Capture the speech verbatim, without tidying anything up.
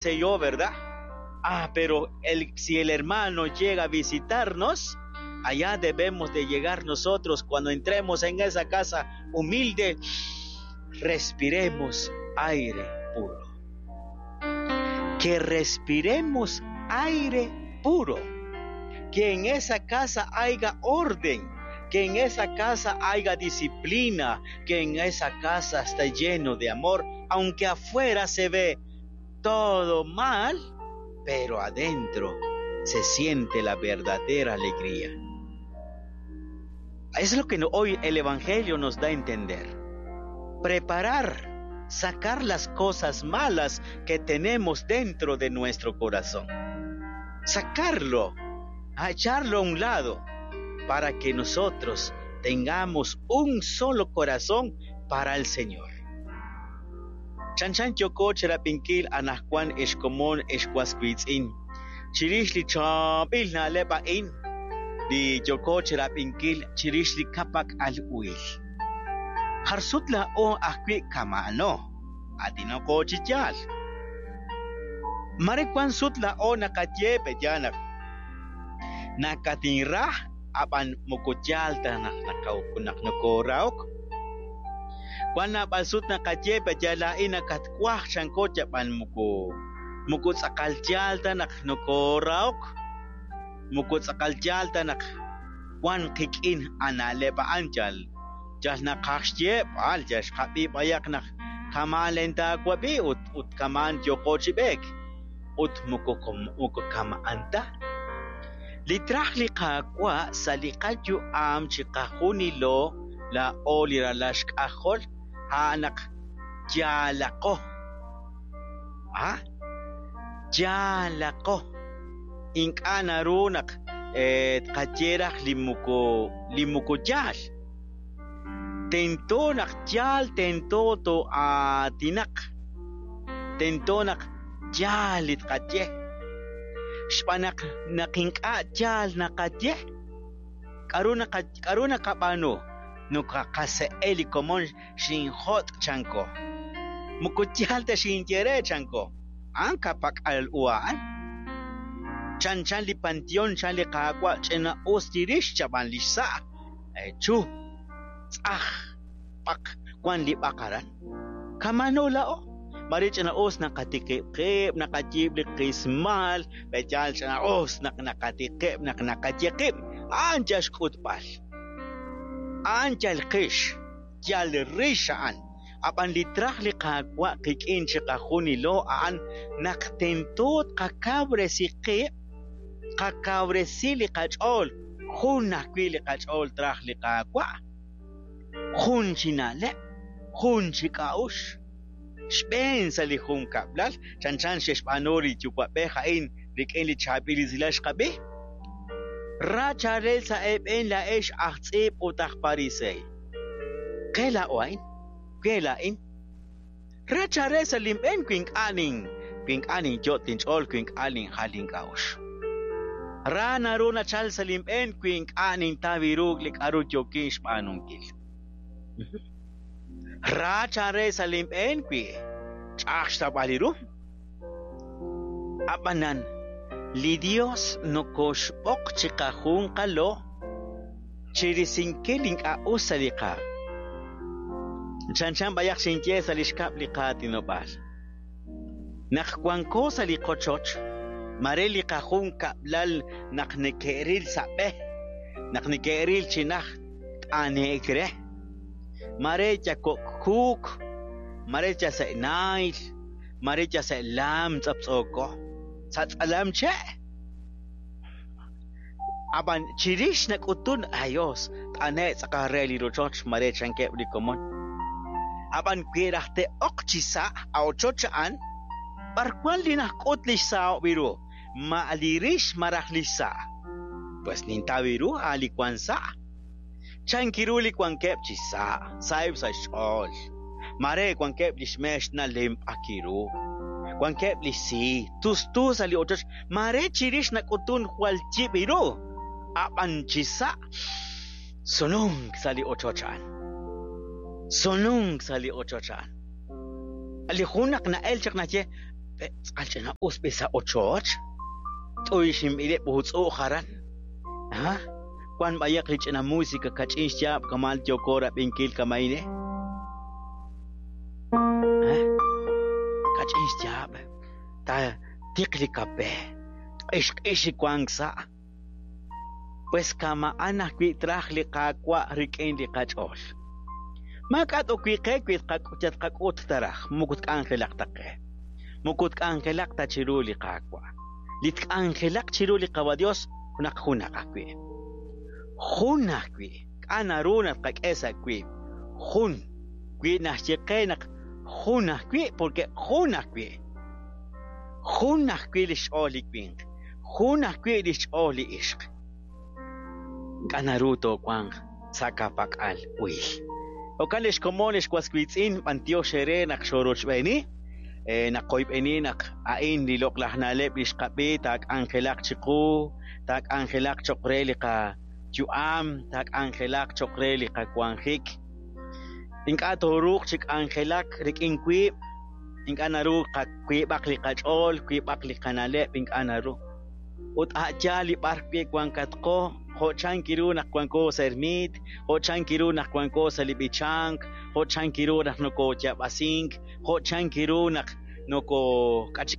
sé yo, ¿verdad? Ah, pero el, si el hermano llega a visitarnos, allá debemos de llegar nosotros cuando entremos en esa casa humilde, respiremos aire puro. Que respiremos aire puro. Que en esa casa haya orden, que en esa casa haya disciplina, que en esa casa esté lleno de amor, aunque afuera se ve todo mal, pero adentro se siente la verdadera alegría. Es lo que hoy el Evangelio nos da a entender. Preparar, sacar las cosas malas que tenemos dentro de nuestro corazón. Sacarlo, a echarlo a un lado, para que nosotros tengamos un solo corazón para el Señor. Chanchan yooko chirab'inkil anaqwan ex komon ex was wiitz'in. Chirix li chaab'il na'leb' a'in, li yooko chirab'inkil chirix li ka'pak'al uhil. Jar sut laa'o ajwi' kama'ano, aatinaqo chi yaal. Mare wan sut laa'o naqaye pe'yaal naq nakatinra ab'an moko yaal ta naq naq nokoorahok. Wan naab'al sut naqaye pe'yaal laa'in nakatwaj chanko ab'an moko moko tz'aqal yaal ta naq nokoorahok. Moko tz'aqal yaal ta naq wan qik'in ana'leb' a'an yal yal naqaj xyeeb'al yal xqab'i b'ayaq naq kama'an len taawab'i ut ut kama'an yooko chi b'eek ut moko moko kama'an ta. Li traj li Qaawa' sa' li qayu'am chiqajunilo laa'o li ralal xk'ajol a'an naq yaalaqo. Ah, yaalaqo. Ink'a' naru naq tqaye raj li moko li moko yaal. Tento naq yaal tento to'aatinaq. Tento naq yaal li tqaye. Xb'aan naq naq ink'a' yaal naqaye, k'aru naqa k'aru naqab'aanu? Nokaqase'e li komon xinjot' chanko. Moko yaal ta xinye re chanko. A'an ka'pak'al u a'an. Chanchan li panteón chan li Qaawa' ch'ina-us chirix chab'an li xsa'. Chu, tz'aj, b'aq, wan li b'aq aran. Kama'ano laa'o. Mare ch'ina-us naqatiqib' qib', naqayiib' li qismal, pe'yaal ch'ina-us naq naqatiqib', naq naqaye qib'. A'an yal xk'utb'al. A'an yal qix, yal rix a'an. Ab'an li traj li Qaawa' qik'in chiqajunilo a'an naq tento tqakawresi qib', tqakawresi li qach'ool, jun ajwi' li qach'ool traj li Qaawa'. Jun chi na'leb', jun chi k'a'uxl. Xb'een sa' li junkab'lal, chanchan xe'xb'aanu li yuwa'b'ej a'in rik'in li chaab'il esilal xqab'i. Ra chaalel sa' eeb'en laa'ex aj tz'iib' ut aj pariseey. Qe laa'o a'in, qe laa'in. Ra chaalel sa' linb'een wi ink'a' nin wi ink'a' ninyot' linch'ool wi ink'a' ninjal link'a'uxl. Ra naru nachal sa' linb'een wi ink'a' nintaw ru li k'aru yookin xb'aanunkil. Ra chaalel sa' linb'een wi ch'a'aj xtawb'al ru. Ab'anan li Dios nokoxb'oq chiqajunqalo chirisinkil ink'a' us sa' li qaam. Chanchan b'ayaq xinye sa' li xkab' li qaatinob'aal. Naq wanko sa' li qochoch, mare li qajunkab'lal naq neke'ril sa' b'e, naq neke'ril chi najt t'ane'k re. Mare yakok'kuuk, mare yase'naayl, mare yase'laam tz'aptz'ooko, sa' tz'alam che'. Ab'an chirix nak'utun ayos t'ane' tz'aqal re li rochoch mare chankeb' li komon. Ab'an wi raj te'oq chi sa' a ochoch a'an, b'ar wan li najk'ut li xsahob' ru, ma li rix maraj li xsa'. Pues nintaw ru a' li wan sa'. Chankiru li wankeb' chi sa', sa'eb' sa' xch'ool. Mare wankeb' li xmeex nalemp'akiru. Wankeb' li xsi, tustu sa' li ochoch, mare chirix nak'utun jwal yib' ru. Ab'an chi sa' sununk sa' li ochoch a'an. Sununk sa' li ochoch a'an. Li jun naq na'el chaq naxye, Tz'aqal ch'ina'us b'i sa' ochoch. T'uyxinb'ileb' utz'u'j aran. Ha? Wan b'ayaq li ch'ina música kach'in xyaab' kamal yooko rab'inkil kama'in, eh? Ha? Kach'in xyaab'. Ta tiq li kape. Q'ix-q'ix li wank sa'. Pues kama'an ajwi' traj li Qaawa' rik'in li qach'ool. Maak'a' t'owi qe wi tqak'ut taraj, moko tk'anjelaq ta qe. Moko tk'anjelaq ta chiru li Qaawa'. Li tk'anjelaq chiru li Qawa Dios naq junaq ajwi'. Jun ajwi'. K'a naru naq tqak'e sa' wiib'. Jun. Wi naxye qe naq jun ajwi' porque jun ajwi'. Jun ajwi' li xch'ool li winq. Jun ajwi' li xch'ool li ixq. K'a naru toowanq sa' ka'pak'al uil. Jo'kan li xkomon li xwaswiitz'in b'antiox eere naq xorochb'eeni. Eh, naq qoyb'eni naq a'in li loq'laj na'leb' li xqab'i taak'anjelaq chiqu, taak'anjelaq cho'q re li qayu'am, taak'anjelaq cho'q re li qawanjik. Ink'a' tooruuq chi k'anjelak rik'in wiib', ink'a' naru wiib'aq li qach'ool, wiib'aq li qana'leb', ink'a' naru. Ut a' yaal li b'ar wi' wankatqo, jo' chan kiru naq wanko sa' ermiit, jo' chan kiru naq wanko sa' li b'ichank, jo' chan kiru naq nokooyaab'asink, jo' chan kiru naq nokok'ach